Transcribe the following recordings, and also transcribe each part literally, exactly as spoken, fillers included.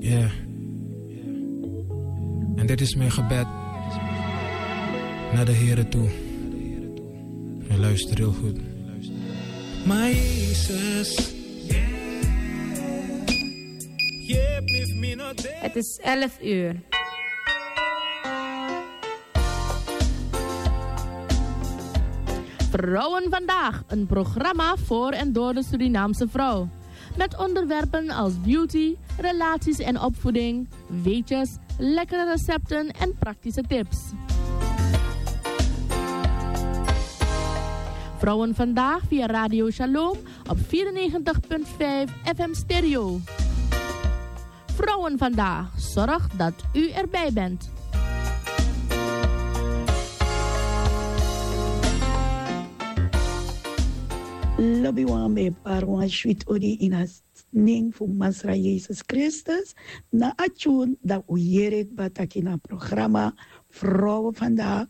Ja. En dit is mijn gebed naar de Here toe. En luister heel goed. Maar Jezus, yeah. Het is elf uur. Vrouwen Vandaag, een programma voor en door de Surinaamse vrouw. Met onderwerpen als beauty, relaties en opvoeding, weetjes, lekkere recepten en praktische tips. Vrouwen Vandaag via Radio Shalom op vierennegentig punt vijf F M Stereo. Vrouwen Vandaag zorgt dat u erbij bent. Lobi wan, mi e bari wan switi odi ini a nen fu Masra Yesus Kristus. Na a tyun dan un yere kba taki na programa Vrouwen Vandaag,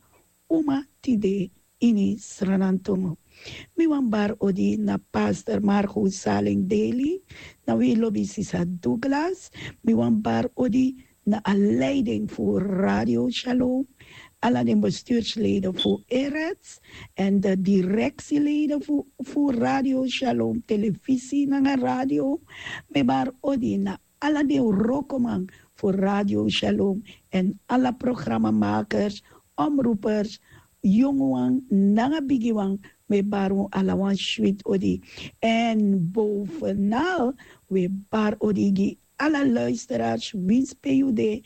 Uma Tide ini Sranantongo. Mi wani bari odi na pastor Marco Saleng Daly, na wi lobi sisa Douglas. Mi wani bari odi na a leiding fu Radio Shalom, ala den bestuursleden fu Erets en de directieleden fu, fu Radio Shalom, televisie nanga radio. Mi bari odi na ala den wrokoman fu Radio Shalom en ala programmamakers, omroepers, yonguwan nanga bigiwan. Mi bari un ala wan switi odi. En bovenal, wi bari odi gi ala luisteraars, winsi pe yu de,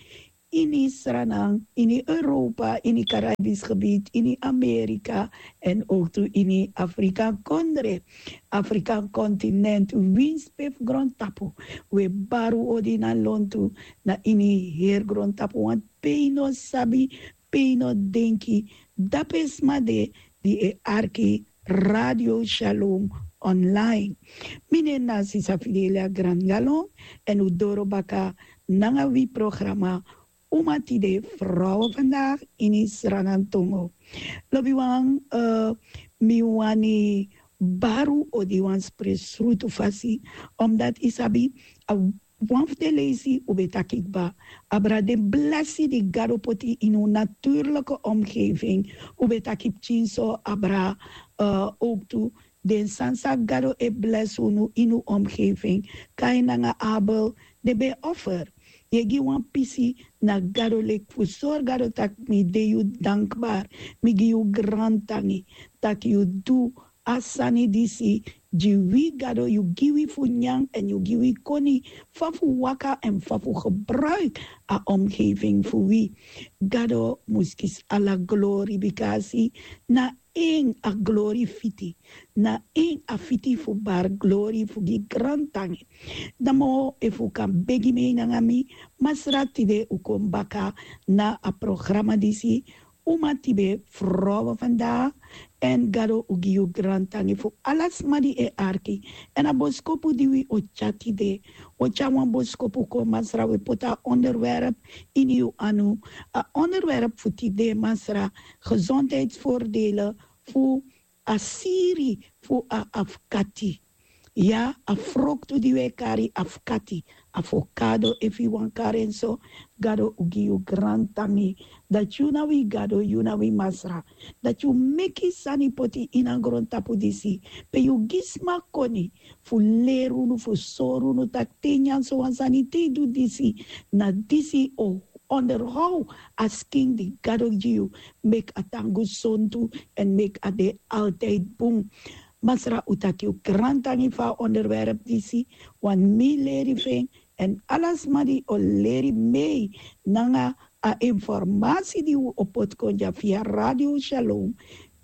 ini Sranan, ini Europa, ini Caribisch gebied, ini Amerika, en ook tu ini Afrika kondre, Afrika continent, winsi pe fu grondtapu. Wi bari un odi na lontu, na ini heri grondtapu, want pe yu no sabi, pe yu no denki, dape sma de di e arki Radio Shalom online. Mi nen na sisa Fidelia Grangalon, en un doro baka nanga wi programa Uma Tide, Vrouwen Vandaag ini Sranantongo. Lobi wan, eh, mi wani bari un odi wan spesrutu fasi, omdat yu sabi, a wan fu den leisi un ben taki kba, abra den blesi di Gado poti ini un natuurlijke omgeving. Un ben taki pikinso, abra, eh, ook tu den sani san Gado e blesi unu ini un omgeving. Kain nanga Abel, den ben offer. Yu e gi wan pisi na Gado leki fu sori Gado taki mi de yu dankbaar. Mi gi yu grantangi taki yu du a sani disi gi wi. Gado, yu gi wi fu nyan en yu gi wi koni, fa fu waka en fa fu gebruik a omgeving fu wi. Gado mus kisi ala glori, bikasi na en a glori fiti, na en a fiti fu bari glori fu gi grantangi. Namo efu un kan begi mi nanga mi, Masra, tide un kon baka na a programa disi, Uma Tide, Vrouwen Vandaag, en Gado o gi yu grantangi fu ala sma di e arki. En a boskopu di wi o tyari tide, o tyari wan boskopu kon, Masra, wi poti a onderwerp ini yu anu. A onderwerp fu tide, Masra, gezondheidsvoordelen fu a siri fu a afkati. Ya, a froktu di wi e kari afkati, avocado efu yu wani kari en so. Gado o gi yu grantangi dati yu na wi Gado, yu na wi Masra, dati yu meki sani poti ini a grontapu disi, pe yu gi sma koni fu leri unu, fu sori unu taki te yu nyan so wan sani, te yu du disi, na disi o onderhoud a skin di Gado gi yu, meki a tan gesontu en meki a de altijd bun. Masra, un taki yu grantangi fu a onderwerp disi, want mi leri fu en, en ala sma di o leri mee nanga a informasi di un o poti kon dya via Radio Shalom,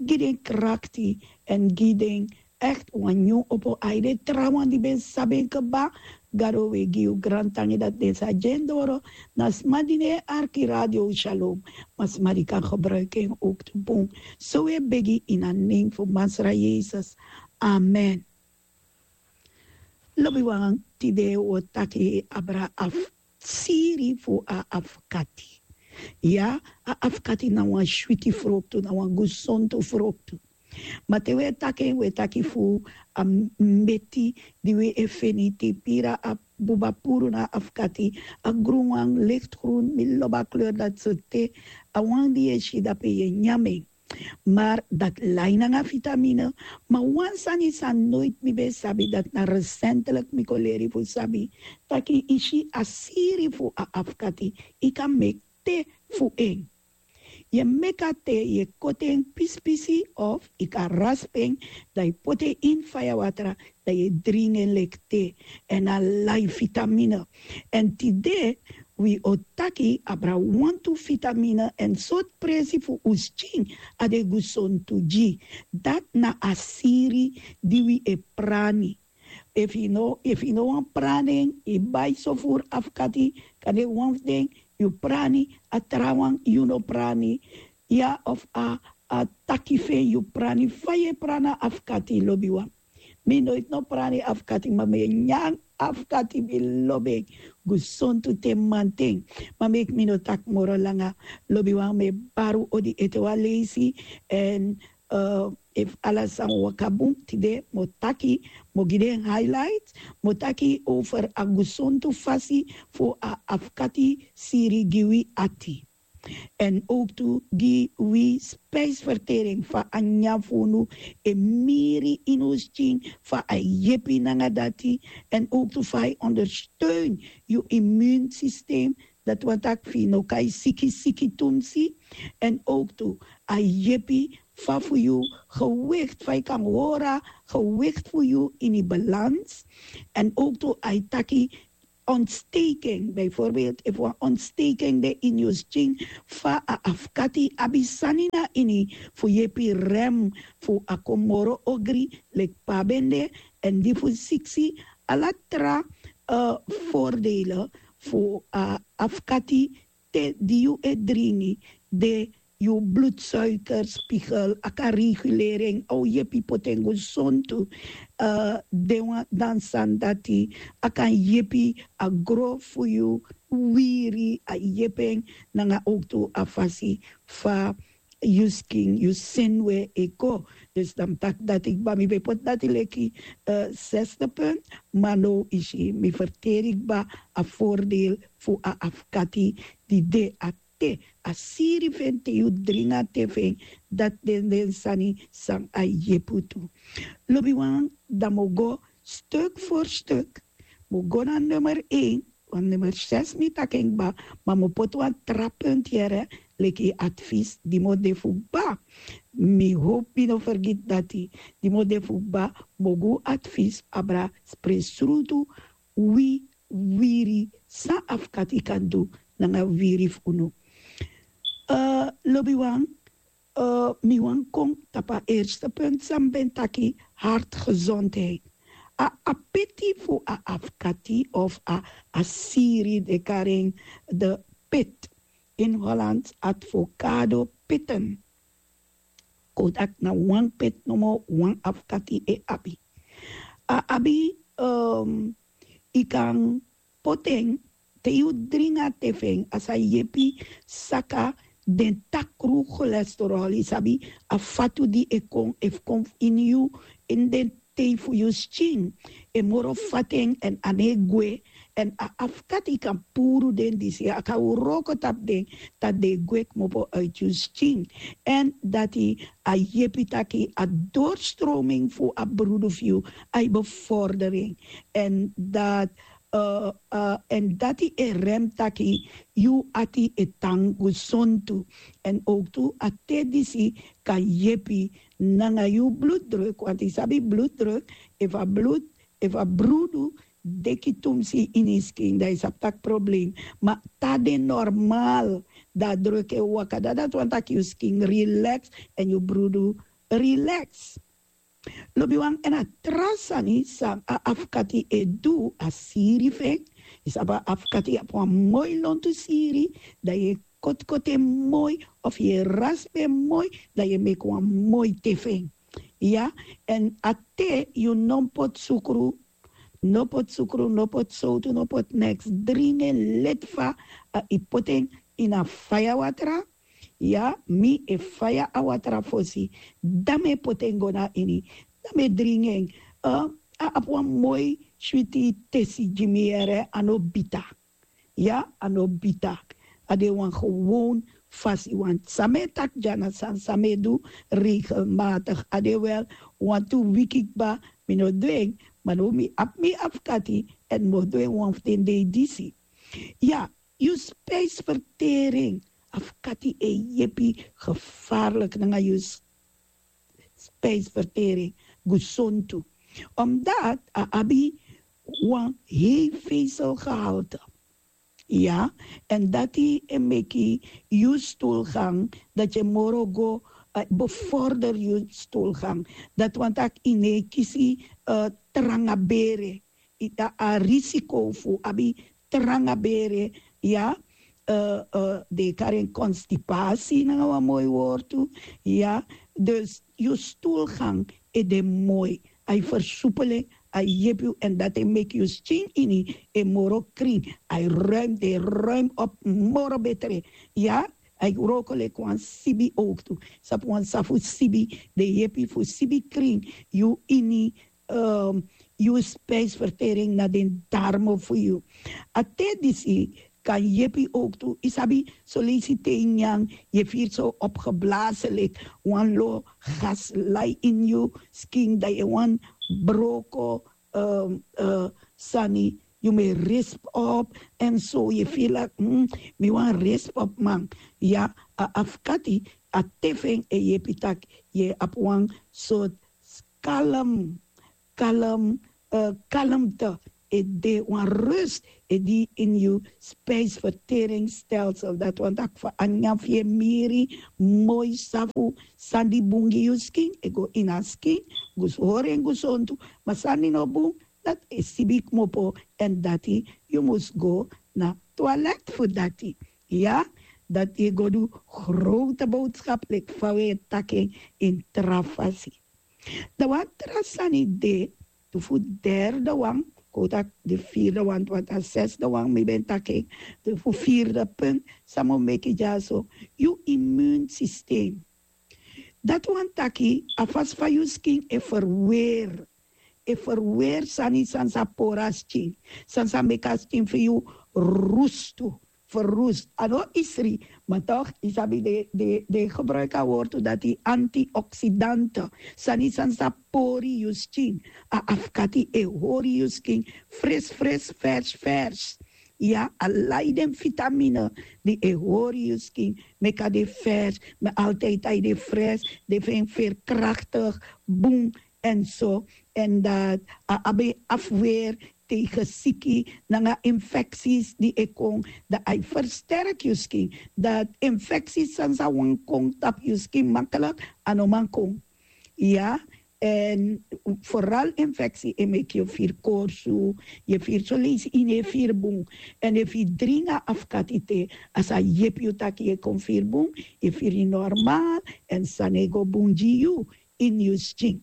gi den krakti en gi den echt wan nyun opo. A ede trawan di ben sabi en kaba, Gado, wi e gi yu grantangi dati den sa gi en doro na sma di no e arki Radio Shalom, ma sma di kan gebruiki en ook tu bun. So wi e begi ini a nen fu Masra Yesus. Amen. Lobiwan, tide wi o taki abra a siri fu a afkati. Ya, a afkati na wan switi froktu, na wan gesontu froktu. Ma te wi e taki en, wi e taki fu a mbeti di wi e feni te yu piri a buba puru na a afkati. A grun wan, lichtgrun, mi lobi a kleur dati so te. A wan di yu e si dape yu e nyan en. Mar dati lai nanga vitamine. Ma wan sani san noiti mi ben sabi, dati na resentelik mi kon leri fu sabi taki yu si a siri fu a afkati, yu kan meki te fu en. Yu e meki a te, yu e koti en pispisi of yu kan raspi en, dan yu poti en ini faya watra, dan yu e dringi en leki te. Èn a lai vitamine. Èn tide wi o taki abra wantu vitamine èn sortu presi fu un skin a de gesontu gi. Dati na a siri di wi e prani. Efu yu no efu yu no wani prani en, yu bai sofuru afkati, kande wan fu den yu prani, a trawan yu no prani. Ya, of a a taki fu en yu prani. Fa yu e prani a afkati, lobiwan? Mi noiti no prani afkati, ma mi e nyan afkati, mi lobi en gesontu te manten. Ma meki mi no taki moro langa, lobiwan, mi e bari un odi ete wan leisi. Èn efu ala sani waka bun, tide mi o taki, mi o gi den highlight, mi o taki over a gesontu fasi fu a afkati siri gi wi ati. Èn owktu gi wi spijsvertering, fa a nyan fu unu e miri ini un skin, fa a e yepi nanga dati. Èn owktu fa a e ondersteun yu immuunsysteem, dati wani taki fu yu no kai siki siki tumsi. Èn owktu a e yepi fa fu yu gewikti, fa yu kan hori a gewikti fu yu ini balans. Èn owktu a e taki ontsteking, bijvoorbeeld efu wan ontsteking de ini yu skin, fa a afkati abi sani na ini fu yepi rem fu a kon moro ogri leki pe a ben de. Èn di fu siksi, ala tra voordelen fu a afkati te di yu e dringi, de yu bloedsuikerspiegel a kan regulering, a o yepi poti en gesontu. Den wan dan sani dati a kan yepi a gro fu yu wiri, a yepi en nanga owktu a fasi fa yu skin, yu senwe e go. Dus dan mi taki dati kba, mi ben poti dati leki zesde punt. Ma now isi mi ferteri kba a voordeel fu a afkati di de a te, a siri fu en te yu dringi a te fu en. Dati den den sani san a yepi tu. Lobiwan, dan mi o go stuk for stuk. Mi o go na nummer een, want nummer zes mi taki en kba, ma mi o poti wan tra punt yere, leki advies di mi o de fu kba. Mi hopi mi no fergiti dati, di mi o de fu kba, mi o gi un advies abra spre srutu, wi wiri, san afkati kan du nanga wiri fu unu. Lobiwan, mi wani kon tapu a erste punt san mi ben taki, hartgezondheid. A apeti fu a afkati of a a siri, den kari en de pit, in Hollands advocado pitten. Kon taki na wan pit nomo wan afkati e abi. A abi, yu kan poti en te yu dringi a te fu en, a sa yepi saka den takru cholesterol, yu sabi, a fatu di e kon efu kon ini yu, ini den tei fu yu skin, e moro fati en èn a no e gwe. Èn a afkati kan puru den disi, a kan wroko tapu den, dati den e gwe kmopo uiti yu skin. Èn dati a yepi taki a doorstroming fu a brudu fu yu, a e bevordering. Èn dati èn dati e rem taki yu ati e tan gesontu. Èn owktu a te disi kan yepi nanga yu bloeddruk, want yu sabi bloeddruk, efu a bloed efu a brudu deki tumsi ini yu skin, dan yu sabi taki problem. Ma te a de normal, dan a druk e waka, dan dati wani taki yu skin relax èn yu brudu relax. Lobiwan, èn a tra sani san a afkati e du, a siri fu en. Yu sabi a afkati abi wan moi lontu siri, dan yu e kotikoti en moi, of yu e raspi en moi, dan yu e meki wan moi te fu en. Ya, èn a te yu no mus poti sukru, no poti sukru, no poti sowtu, no poti neks. Dringi en leti fa yu poti en ini a faya watra. Ya, mi e faya a watra fosi, dan mi e poti en go na ini, dan mi e dringi en. a abi wan moi switi tesi gi mi yere, a no bita. Ya, a no bita. A de wan gewoon fasi, want san mi e taki dya na sani san mi e du regelmatig. A de wel wantu wiki kba mi no du en, ma now mi abi mi afkati, èn mi o du en wan fu den dei disi. Ya, yu spijsvertering, afkati e yepi gevaarlijk nanga yu spijsvertering, gesontu. Omdat a abi wan hei vezelgehalte. Ya, en dati e meki yu stoelgang, dat je moro go, eh, bevorder yu stoelgang. Dat want tak ine kisi, eh, tranga bere. Ita a risiko fu abi tranga bere, ya, eh, eh, de karen constipatie nanga wan moi wortu, ya. Dus yu stoelgang e de moi, a e versoepelen, a e yepi yu, en dat e meki yu skin ini e moro kring, a e ruim, de ruim op moro betre, ya. A e wroko leki wan sibi ook tu, sabi wan safu sibi, de yepi fu sibi kring yu ini, um, yu spijsvertering na den darmo fu yu. A te disi kan yepi ook tu, yu sabi, so leisi te yu nyan, yu firi so opgeblazen leki wan lo gas lai in yu skin, dan yu wan broko, um, uh, sani, yu me risp op, en so yu firi leki, hmm, mi wan risp op man. Ya, a afkati, a te fu en e yepi tak yu abi wan sort kalm, kalm, eh, kalmte, e de wan rust, e di in yu spijsverteringsstelsel. Dat want tak fu a nyan fu yu e miri moi safu, san di bun gi yu skin e go ini a skin, gus hori en gesontu, ma san di no bun, dat e sibi kmopo, en dati yu mus go na toilet fu dati. Ya, dati e go du grote boodschap leki fa wi e taki en in tra fasi. Dan wan tra sani de, tu fu derde wan, kon taki de vierde wan, want a zesde wan mi ben taki en, de fu vierde punt san mi o meki dyaso, yu immuunsysteem. Dati wani taki a fasi fa yu skin e verweer, e verweer sani san sa pori a skin, san sa meki a skin fu yu rustu, verroest. A no isri, ma toch, yu sabi den, den, den gebruik a wortu dati antioxidante. Sani san sa pori yu skin. A afkati e hori yu skin fris, fris, vers, vers. Ya, a lai den vitamine di e hori yu skin, meki a de vers, ma altijd a e de fres, de fu en veerkrachtig, bun, en so, en dat a abi afweer tegen siki nanga infecties di e kon, dat a e versterk yu skin. Dat infecties san sa wani kon tapu yu skin makkelijk, a no man kon. Ya, en vooral infectie e meki yu firi korsu, yu firi so leisi yu no e firi bun. En efu yu dringi a afkati te, a sa yepi yu taki yu e kon firi bun, yu firi normaal, en sani e go bun gi yu ini yu skin.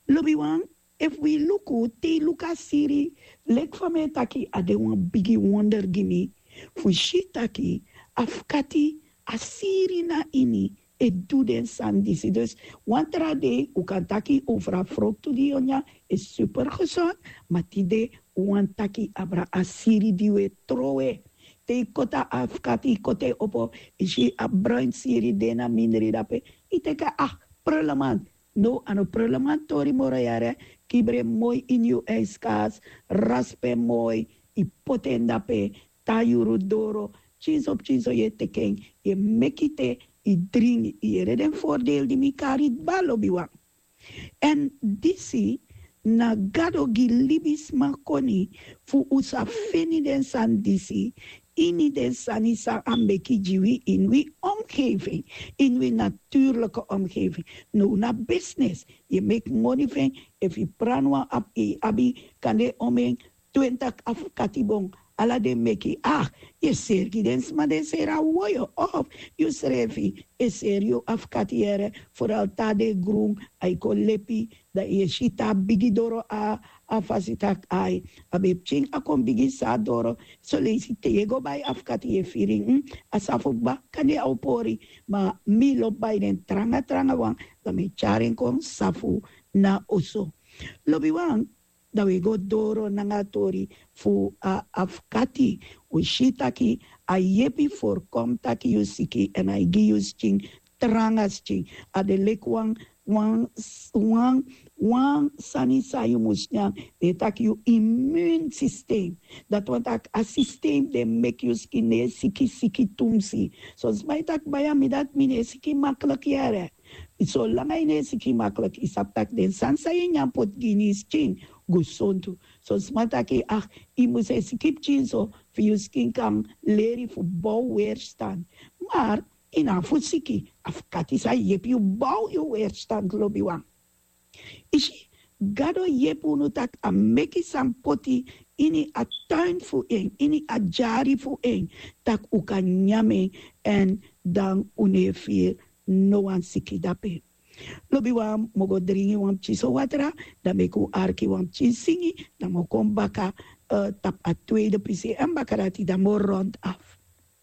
Lobiwan, efu wi luku, te yu luku a siri, leki fa mi e taki, a de wan bigi wonder gi mi fu si taki afkati, a siri na ini e du den sani disi. Dus wan tra dei un kan taki over a froktu di yu o nyan, e super gezond, ma tide un wani taki abra a siri di un e trowe. Te yu koti a afkati, yu koti en opo, yu si a bruin siri de na mindri dape, yu teki en, ah, prullenmand. No, a no prullenmand tori moro yere. Kibri en moi ini yu ijskast, rasp en moi, yu poti en dape, tan yuru doro, pikinso pikinso yu e teki en, yu e meki te, yu dringi, yu yere den voordeel di mi kari kba, lobiwan. Èn disi na Gado gi libisma koni fu un sa feni den sani disi ini den sani san a meki gi wi ini wi omgeving, ini wi natuurlijke omgeving. Now na business, yu e meki moni fu en, efu yu pran wan abi, abi kande omen twintig afkati bon, ala den meki, ah, yu e seri gi den sma, den seri a woyo, of yusrefi e seri yu afkati yere, vooral te a de grun, a e kon lepi, dan yu e si te a bigi doro a, a fasi taki ai, a ben pikin a kon bigi, san a doro, so leisi te yu e go bai afkati yu e firi, hmm, a safu kba, kande a o pori, ma mi lobi bai den tranga tranga wan, dan mi e tyari en kon safu na oso. Lobiwan, dan wi e go doro nanga a tori fu a afkati. Wi si taki a yepi forkom taki yu siki èn a e gi yu skin, tranga skin. A de leki wan wan wan wan sani san yu mus nyan. Den e taki yu imun sistem. Dati wani taki a sistem den meki yu skin no e siki siki tumsi. Son sma e taki baya mi dati mi no e siki makliki yere. Solanga yu no e siki makliki yu sabi taki den sani san yu e nyan poti gi ini yu skin gesontu. Son sma taki ah, yu mus e siki pikin so fu yu skin kan leri fu bow weerstan. Mar yu no abi fu siki. Afkati sa yepi yu bow yu weerstan lobiwan. Isi, gado yepi unu taki a meki san poti ini a tuin fu en, ini a dyari fu en, taki un kan nyan en. Èn dan un no e firi no wan siki dape. Lobiwan, mi o go dringi wan pikin so watra, dan meki un arki wan pikin singi, dan mi o kon baka tapu a tweede pisi èn baka dati dan mi o rond af.